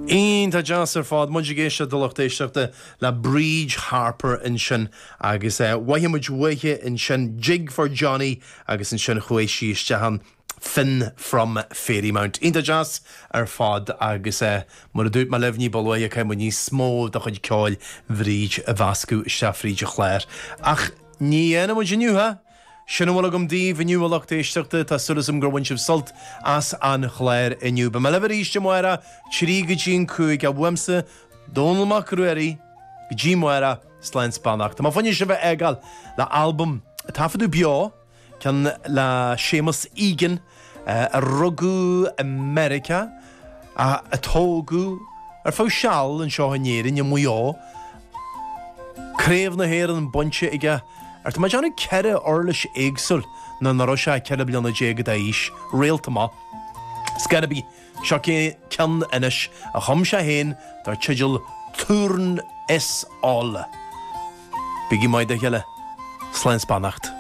Iontach deas ar fad. Muid ag éisteacht a lucht éisteachta le Bríd Harper ansin agus mhothaigh muid uaithi ansin Jig for Johnny agus ansin chuaigh sí isteach ann Finn from Fairymount. Iontach deas ar fad agus mar a dúirt mé libh ní ba luaithe caithfidh muid níos mó de chuid ceoil Bhríd a mheascadh isteach fríd an chlár. Ach ní dhéanfaidh muid inniu é! Sin a bhfuil agam daoibh inniu, a lucht éisteachta. Tá súil agam gur bhain sibh sult as an chlár inniu. Beidh mé libh arís amárach, 3 go dtí an 5, uaimse, Dónall Mac Ruairí, go dtí amárach, slán 's beannacht. Tá mé fá choinne sibh a fhágáil le albam a taifeadadh beo, ceann le Séamus Egan, a rugadh i Meiriceá, a tógadh ar feadh seal anseo in Éirinn, i Maigh Eo. Craobh na hÉireann bainte aige ar tá mé ag déanamh 4 uirlis éagsúil nuair nach raibh sé 14 bliana d'aois, réalt amach. Scor ar bith, seo ceann anois a chum sé féin dar teideal Túrn is Oll. Bígí maith dá chéile. Slán 's beannacht.